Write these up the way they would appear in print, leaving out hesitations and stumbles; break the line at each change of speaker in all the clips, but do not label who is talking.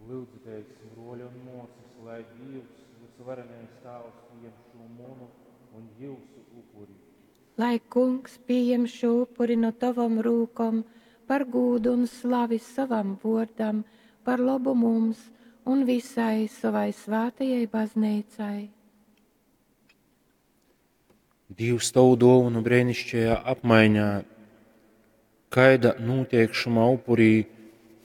Lyudzu, bruoļi un muosys, lai Dīvs, vysvarenais Tāvs, pījem šū munu un jiusu upuri.
Lai Kungs pījem šū upuri nu tovom rūkom par gūdu un slavi sovam vōrdam, par lobu mums un visai sovai svātajai bazneicai.
Dīvs tovu duovonu breinišķajā apmaiņā, kaida nūteik šymā upurī,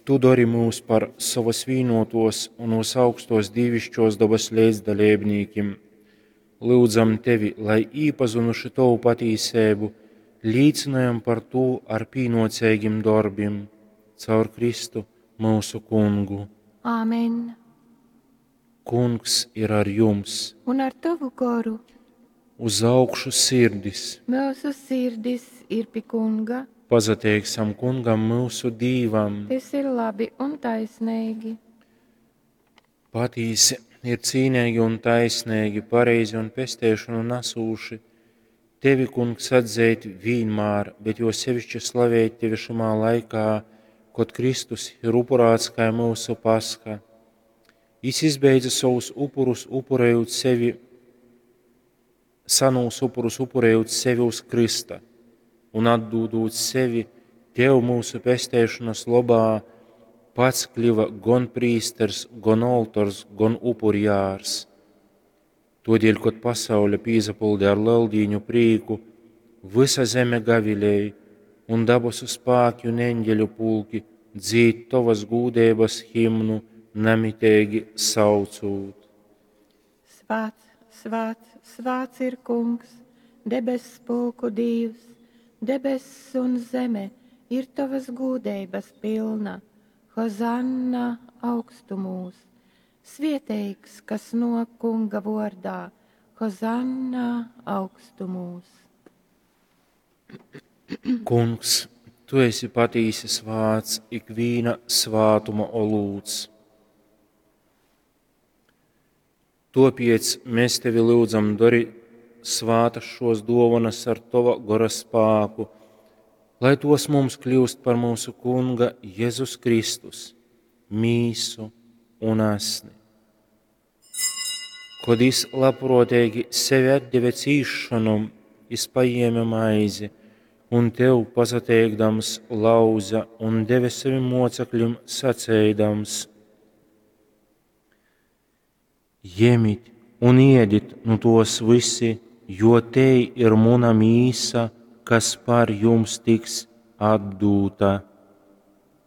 tu dori myus par sovas vīnōtōs un vysaugstōs dīviškōs dobas leidzdaleibnīkim. Lyudzam tevi, lai īpazynuši tovu patīseibu, līcynojam par tū ar pīnōceigim dorbim. Caur Kristu, myusu Kungu.
Āmen.
Kungs ir ar jums.
Un ar tovu goru.
Uz augšu sirdis.
Myusu sirdis ir pi Kunga.
Pasateiksim Kungam, myusu Dīvam.
Tys ir labi un taisneigi.
Patīsi ir cīneigi un taisneigi, pareizi un pesteišonu nasūši tevi, Kungs, atzeit vīnmār, bet jo sevišķi slavēt tevi šymā laikā, kod Kristus ir upurāts kai myusu Pasha. Jis izbeidza sovus upurus, upurējot sevi, sanūs upurus upurējot sevi uz krysta un atdūdūt sevi tev myusu pesteišonas lobā, pats kļuva gon prīsters, gon oltors, gon upurjārs. Todēļ, kod pasaule pīsapilda ar leldīņu prīku, vysa zeme gavilej, un dabasu spāki un eņģeļu pulki dzīd tovas gūdeibas himnu, namiteigi saucūt.
Svāts, svāts, svāts ir Kungs, debess pulku Dīvs, debess un zeme ir tovas gūdeibas pilna. Hozanna augstumūs! Svieteigs, kas nōk Kunga vōrdā, Hozanna augstumūs!
Kungs, tu esi patīsi svāts, ikvīna svātuma olūts. Tōpēc mēs tevi lyudzam, dori svātas šos dōvanas ar tova gora spāku, lai tos mums kļūst par mūsu Kunga Jēzus Kristus mīsu un asni. Kod jis labprōteigi sevi atdeve cīsšonom, jis pajēme maizi un tev pasateikdams lauza un deve sevim mocekļim saceidams: Jemit un ēdit nu tos visi, jo tei ir muna mīsa, kas par jums tiks atdūta.